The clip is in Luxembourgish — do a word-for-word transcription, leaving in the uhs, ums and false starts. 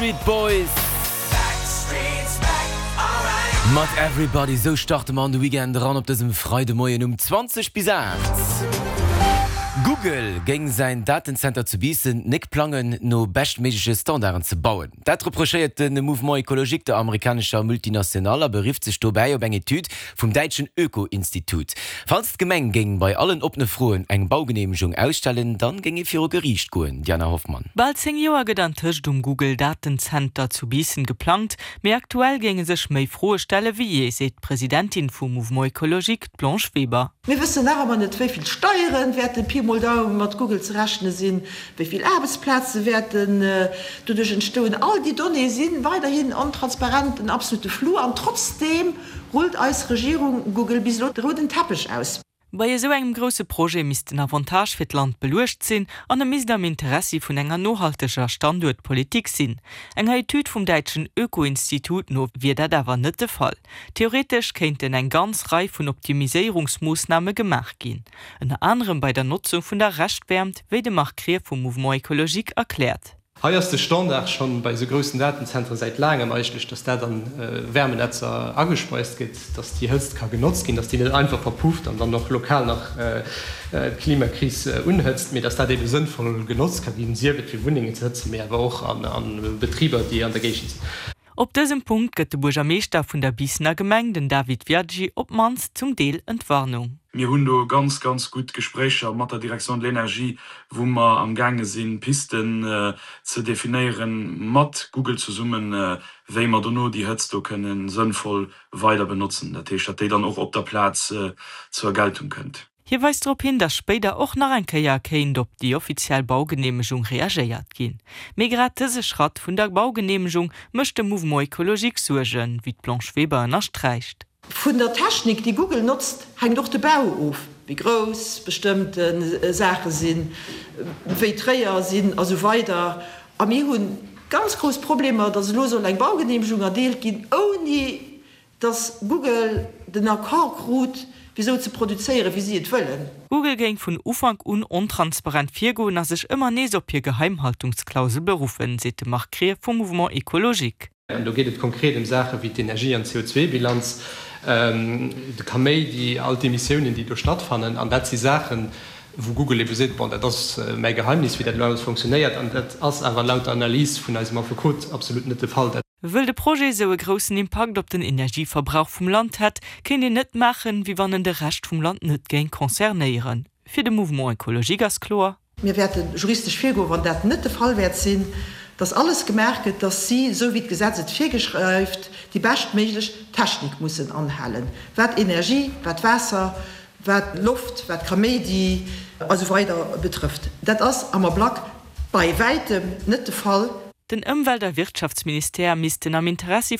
Backstreet Boys mat Everybody. Sou starte mer an de Weekend eran op dësem Freidemoien um zwanzeg bis aacht. Google géing säin Datenzenter zu Biissen nik plangen, no beschtméigleche Standarden ze bauen. Dat reprochéiert de Mouvement Ecologique der amerikanescher Multinationale a berifft sech dobäi op eng Etüd vum däitschen Öko-Institut. Falls d'Gemeng géing bei allen oppene Froen eng Baugeneemegung ausstellen, dann géing ee viru Geriicht goen, Diana Hoffmann. Bal zéng Joer gëtt antëscht um Google-Datenzenter zu Biissen geplangt, mee aktuell géinge sech méi Froe stelle wéi jee, seet d'Presidentin vum Mouvement Ecologique, d'Blanche Weber. Mir wëssen nach ëmmer net, wéi vill Steiere wäerten Pi mol Daum mat Google ze rechne sinn, wéi vill Aarbechtsplaze wäerten doduerch entstoen. All déi Donnéeë si weiderhin ontransparent, en absolute Flou. An trotzdeem rullt eis Regierung Google bis elo de rouden Teppech aus. Bei esou engem grousse Projet misst den Avantage fir d'Land beluecht sinn an e misst am Interessi vun enger nohalteger Standuertpolitik sinn. Enger Etüd vum däitschen Öko-Institut no wier dat awer net de Fall. Theoretesch kéinten eng ganz Rei vun Optimiséierungsmoossname gemaach ginn. Ënner anerem bei der Notzung vun der Reschtwäermt, wéi de Marc Krier vum Mouvement Ecologique erkläert. Hei ass de Standard schonn bei esou groussen Datenzentre säit laangem eigentlech, dass dat an Wärmenetzer agespeist gëtt, dass déi Hëtzt ka genotzt ginn, dass déi net einfach verpufft an dann och lokal nach d'Klimakris unhëtzt, mee dass dat ebe sënnvoll genotzt ka ginn, sief et fir Wunnengen ze hëtzen, mee awer och a Betriber, déi an der Géigend sinn. Op dësem Punkt gëtt de Buergermeeschter vun der Biissener Gemeng, den David Viaggi, op d'mannst zum Deel Entwarnung. Mir hunn do ganz, ganz gutt Gespréicher mat der Direction de l'énergie, wou mer amgaange sinn, Pisten ze definéieren, mat Google zesummen, wéi mer dono déi Hëtzt do kënne sënnvoll weider benotzen, dat heescht, datt déi dann och op der Plaz zur Geltung kënnt. Hie weist drop hin, datt spéider och nach eng Kéier kéint op déi offiziell Baugeneemegung reagéiert ginn. Mee grad dëse Schratt vun der Baugeneemegung mécht dem Mouvement Ecologique Suergen, wéi d'Blanche Weber ënnersträicht. Vun der Technik, déi Google notzt, hänkt och de Bau of, wéi grouss bestëmmte Saache sinn, wéi d'Réier sinn a sou weider. A mir hu ganz grouss Problemer, datt elo soll eng Baugeneemegung erdeelt ginn, ouni datt Google den Accord krut, fir esou ze produzéieren, wéi si et wëllen. Google géing vun Ufank un ontransparent virgoen a sech ëmmer nees op hir Geheimhaltungsklausel beruffen, seet de Marc Krier vum Mouvement Ecologique. An do geet et konkret ëm Saache wéi d'Energie an d'C O zwee Bilanz, de Kaméidi, all d'Emissiounen, déi do stattfannen. An dat si Saachen, wou Google ebe seet, bon, dat ass mäi Geheimnis, wéi dat elo alles funktionéiert. An dat ass awer laut der Analys vun eisem Affekot absolut net de Fall. Wëll de Projet esou e groussen Impakt op den Energieverbrauch vum Land hätt, kéint een net maachen, wéi wann en de Rescht vum Land net géing concernéieren. Fir de Mouvement Ecologique ass kloer. Mir wäerte juristesch virgoen, wann dat net de Fall wäert sinn, dass alles gemaach gëtt, dass si, esou wéi d'Gesetz et virgeschreift, déi beschtméiglech Technik mussen anhalen, wat Energie, wat Waasser, wat Loft, wat Kaméidi a sou weider betrëfft. Dat ass am Ablack bei wäitem net de Fall. Den Ëmwelt a Wirtschaftsministère missten am Interessi